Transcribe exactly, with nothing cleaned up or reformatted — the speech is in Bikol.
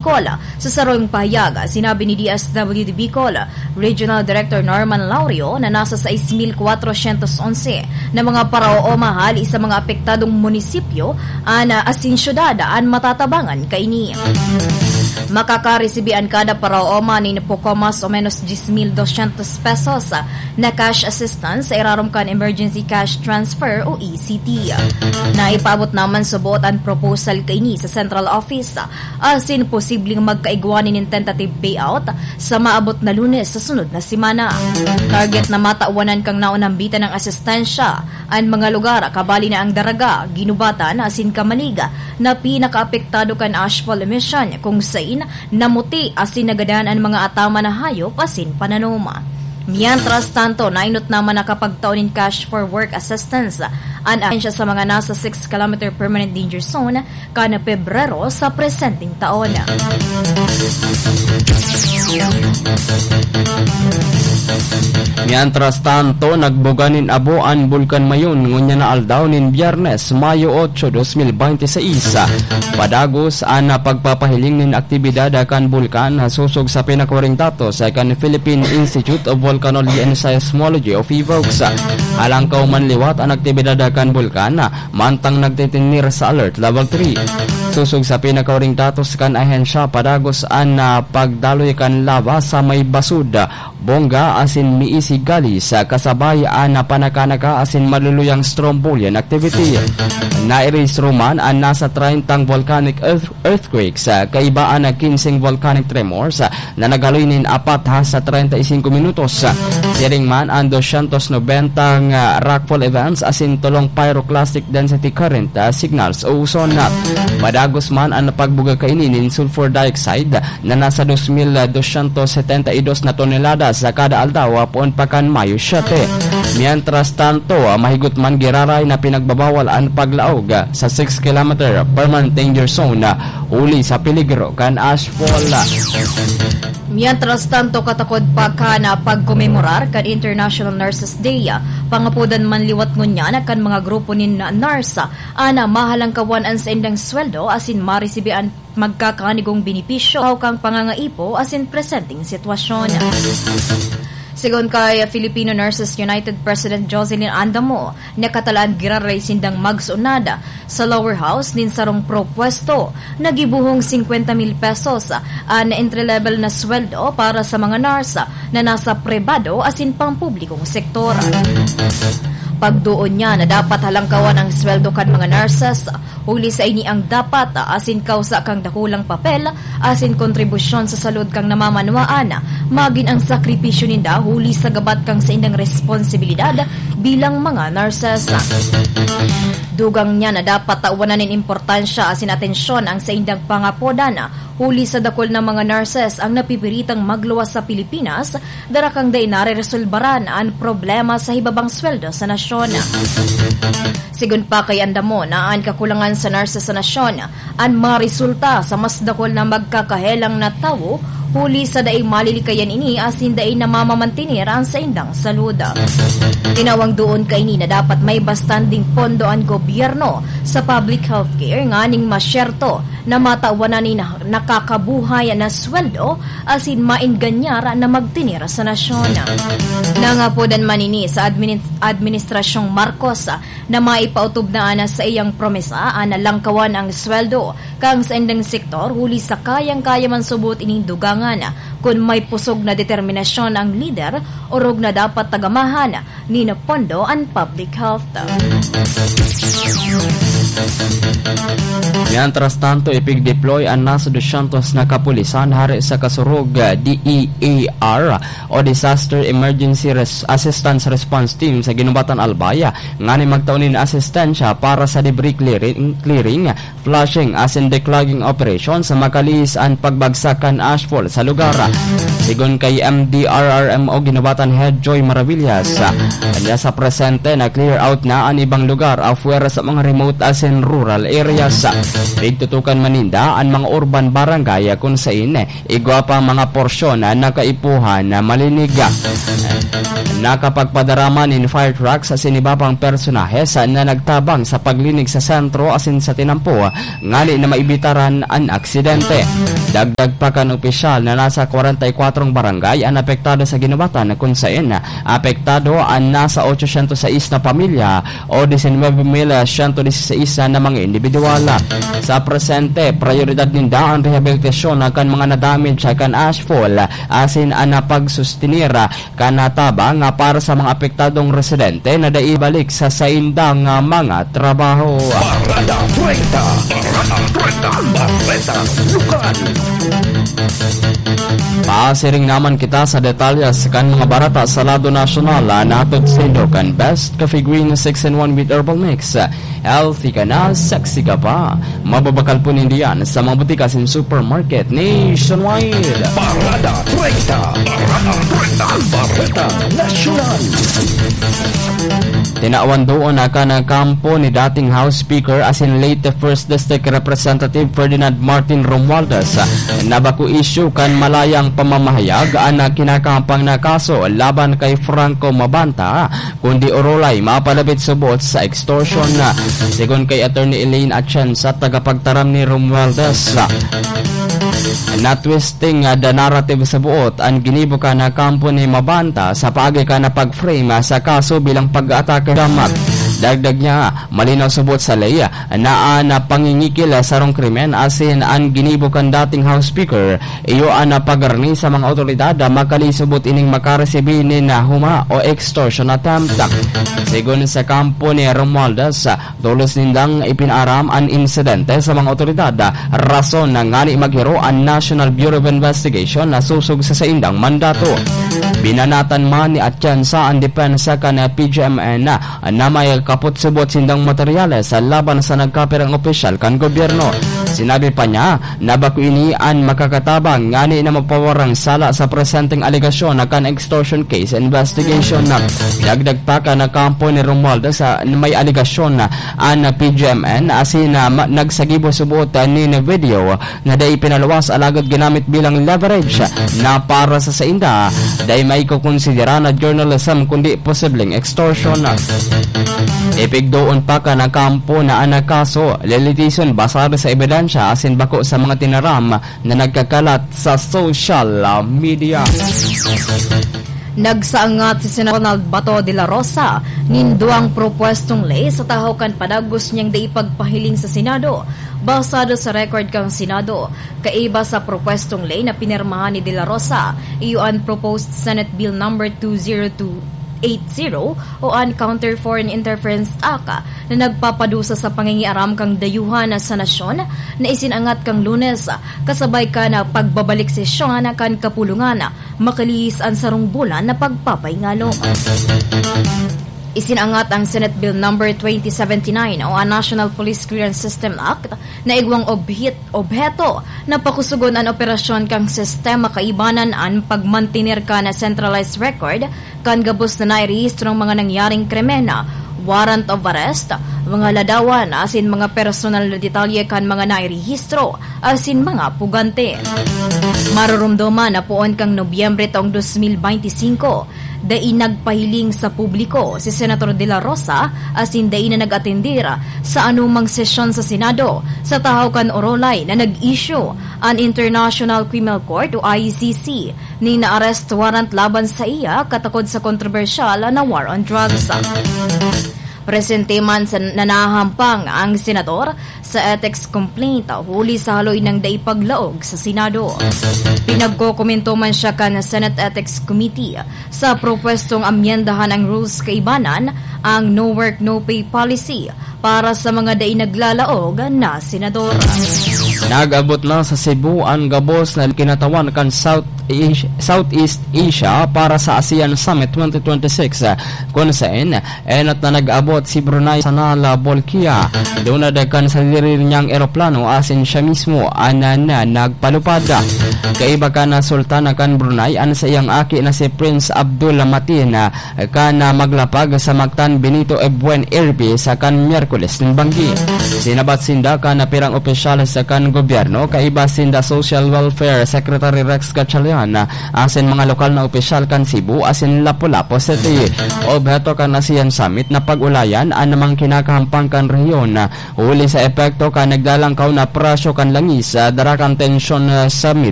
Bicol. Sa sarong pahayag, sinabi ni D S W D Bicol Regional Director Norman Laurio na nasa sais mil kwatrosyentos onse na mga paraoma hali sa mga apektadong munisipyo an, ah, asin syudad an matatabangan kaini. Makakaresibi an kada paraoma nin poko mas o menos diyes mil dosyentos pesos na cash assistance sa irarom kan Emergency Cash Transfer o E C T. Naipaabot naman subot an proposal kaini sa Central Office asin posibleng magkaigwa nin tentative payout sa maabot na Lunes sa sunod na semana. Target na matawanan kan naonambitan nin asistensya an mga lugar, kabali na ang Daraga, Guinobatan asin Camalig na pinakaapektado kan ashfall emission, kung sain namuti asin nagadan an mga ataman na hayop asin pananom. Mientras tanto, nainot naman na kapagtao nin cash for work assistance an ahensya sa mga nasa six kilometer permanent danger zone kan Pebrero sa presenteng taon. Mientras tanto, nagbuga nin abo an Bulkan Mayon ngunyan na aldaw nin Biyernes, Mayo otso, dos mil bente seis. Padagos an pagpapahiling nin aktibidad kan bulkan, sosog sa pinakahuring datos kan Philippine Institute of Volcanology and Seismology o PHIVOLCS. Halangkaw man liwat an aktibidad kan bulkan, mantang nagtitinir sa Alert Level three. Sosog sa pinakahuring datos kan ahensya, padagos an, ah, pagdaloy kan lava sa may Basud, Bonga asin Miisi Gullies, kasabay an panakanaka asin maluluyang strombolian activity. Nairehistro man an nasa treyntang volcanic earth-, earthquakes, kaiba an kinseng volcanic tremors, na naghaloy nin apat hasta treinta y cinco minutos. Siring man an doscientos noventa nga rockfall events asin tolong pyroclastic density current, ah, signals o uson. Padagos man an pagbuga kaini nin sulfur dioxide na nasa dos mil doscientos setenta y dos na tonelada sa kada aldaw, ah, poon pa kan Mayo siete. Mientras tanto, ah, mahigot man giraray na pinagbabawal an paglaog, ah, sa six kilometer permanent danger zone, ah, huli sa peligro kan ashfall. Mientras tanto, katakod pa kan pagkomemorar kan International Nurses Day, pangapodan man liwat ngunyan kan mga grupo nin nurse an mahalangkawan an saindang sweldo asin maresibi an magkakanigong benepisyo kan pangangaipo asin presenteng sitwasyon. Sigon kay Filipino Nurses United President Jocelyn Andamo, nakatalaan giraray sindang magsunad sa lower house nin sarong propwesto na gibohong singkwenta mil pesos an entry-level na sweldo para sa mga nurse na nasa pribado asin pampublikong sektor. Pagdoon niya na dapat halangkawan ang sweldo kan mga nurses, huli sa ini ang dapat asin kausa kan dakulang papel asin kontribusyon sa salud kan namamanwaan, magin ang sakripisyo ninda huli sa gabat kan saindang responsibilidad bilang mga nurses. Dugang niya na dapat tawanan nin importansya asin atensyon ang saindang pangapodan, huli sa dakul na mga nurses ang napipiritang magluwas sa Pilipinas, dara kan dai nareresolbaran an problema sa hibabang sweldo sa nasyon. Sigon pa kay Andamo na an kakulangan sa nurses sa nasyon an maresulta sa mas dakul na magkakahelang na tawo, huli sa dai malilikayan ini asin dai namamamantener an saindang salud. Tinawang doon kaini na dapat may bastanding pondo an gobyerno sa public healthcare nganing masyerto na matawan na nin nakakabuhay na sweldo asin maenganyar na magtener sa nasyon. Nangapodan man ini sa admini-, Administrasyong Marcos na maipaotob na an saiyang promesa an langkawan ang sweldo kan saindang sektor, huli sa kayang-kaya man subot ining dugangan kun may pusog na determinasyon ang lider, orog na dapat tagamahan nin pondo an public health. Mientras tanto, ipig-deploy an nasa dosyentos na kapulisan hare sa Kasurog, D E A R, o Disaster Emergency Res-, Assistance Response Team sa Guinobatan, Albay, nganing magtao nin asistensya para sa debris clearing, clearing, flushing asin declogging operation sa makalihis an pagbagsak kan ashfall sa lugar. Sigon kay M D R R M o Guinobatan Head Joy Maravillas, anya sa presente na clear out na an ibang lugar afuera sa mga remote asin in rural areas. Pigtutukan man ninda an mga urban barangay kun sain igwa pa mga porsyon na kaipuhan na malinig. Nakapagpadarama nin fire trucks sa iba pang personahe sa, na nagtabang sa paglinig sa sentro asin sa tinampo ngani na maibitaran an aksidente. Dagdag pa kan opisyal na nasa kwarenta y kwatro barangay an apektado sa ginubatan, kun sain apektado an nasa otsosyentos sais na pamilya o disinwebe mil siyento diseseis na mga individual. Sa presente, prayoridad ninda an rehabilitasyon kan mga nadamage kan ashfall asin an pagsustinir kan tabang para sa mga apektadong residente na dai balik sa saindang mga trabaho. Parada treinta, Parada treinta, Bareta Lokal. Pasiring naman kita sa detalyes kan mga bareta sa lado nasyonal, ah, na hatod saindo kan Best Coffee Green six in one with Herbal Mix. Healthy ka na, sexy ka pa. Mababakal po ninda yan sa mga butika asin supermarket nationwide. Parada treinta, Parada treinta, Bareta Nasyonal. Tinawan doon na kan kampo ni dating House Speaker asin late First District Representative Ferdinand Martin Romualdez na bako isyu kan malayang pamamahayag an kinakampang na kaso laban kay Franco Mabanta, kundi orolay mapalapit subot sa extortion. Sigon kay Attorney Elaine Atienza, tagapagtaram ni Romualdez, na twisting the narrative subot an ginibo kan kampo ni Mabanta sa paagi kan pag-frame sa kaso bilang pag-atake damak. Dagdag niya, malinaw subot sa ley na an pangingikil sarong krimen asin an ginibo kan dating House Speaker iyo an pagharani sa mga awtoridad makalisubot ining makaresibi nin huma o extortion attempt. Sigon sa kampo ni Romualdez, tolos nindang ipinaaram an insidente sa mga awtoridad, rason na ngani maghiro an National Bureau of Investigation na sosog sa saindang mandato. Binanatan man ni Atienza an depensa kan P G M N na may kapot subot sindang materyales laban sa nagkapirang opisyal kan gobyerno. Sinabi pa niya na bako ini an makakatabang ngani na mapawarang sala sa presenteng alegasyon na kan extortion case investigation. Dagdag pa kan kampo ni Romualdez na may alegasyon na an P G M N asin na ma-, nagsagibo subot nin video na dai pinaluwas alagad ginamit bilang leverage na para sa sainda, dai maikokonsidera na journalism kundi posibleng extortion. Ipigdoon pa kan kampo na an kaso, lilitisan basado sa ebidensya asin bako sa mga tinaram na nagkakalat sa social media. Nagsaangat si Senador Ronald Bato de la Rosa nin duwang propuestong ley sa tahaw kan padagos niyang dai pagpahiling sa Senado. Basado sa record kan Senado, kaiba sa propuestong ley na pinirmahan ni de la Rosa, iyo an Proposed Senate Bill Number two zero two eight zero o an Counter Foreign Interference Act na nagpapadusa sa pangingiaram kan dayuhan sa nasyon na isinangat kan Lunes, kasabay kan pagbabalik sesyon kan kapulungan makalihis an sarong bulan na pagpapaingalo. Isinangat ang Senate Bill Number twenty seventy-nine o ang National Police Clearance System Act na igwang obhit-, obheto na pakusugon an operasyon kan sistema kaibanan an pagmantener kan centralized record kan gabos na nairehistrong mga nangyaring krimen, warrant of arrest, mga ladawan asin mga personal na detalye kan mga nairehistro asin mga pugante. Maroromdoman na poon kan Nobyembre taong dos mil beinti singko, dai nagpahiling sa publiko si Senator De La Rosa asin dai na nag-atendir sa anumang sesyon sa Senado sa tahaw kan orolay na nag-issue an International Criminal Court o I C C nin arrest warrant laban saiya katakod sa kontrobersyal na war on drugs. Presente man sa nanahampang ang senador sa ethics complaint huli sa haloy nang dai paglaog sa Senado. Pinagkokomento man siya kan Senate Ethics Committee sa propwestong amyendahan ang rules kaibanan ang no work, no pay policy para sa mga dai naglalaog na senador. Nag-abot na sa Cebu an gabos na kinatawan kan South Asia, Southeast Asia para sa ASEAN Summit twenty twenty-six, kun saen enot na nag-abot si Brunei Sanal Bolkiah. Dunad kan sadiri niyang eroplano asin siya mismo an na nagpalupad. Kaiba kan Sultana kan Brunei, an saiyang aki na si Prince Abdul Mateen kan maglapag sa Mactan Benito Ebuen Airbase kan Miyerkules nin banggi. Sinabat sinda kan pirang opisyal sa kan gobyerno, kaiba sinda Social Welfare Secretary Rex Gatchalian, asin mga lokal na opisyal kan Cebu asin Lapu-Lapu City. Obheto kan ASEAN Summit na pag-ulayan an mga kinakahampang kan rehiyon, huli sa epekto kan naglalangkaw na presyo kan langis, ah, dara kan tensyon, ah, sa Middle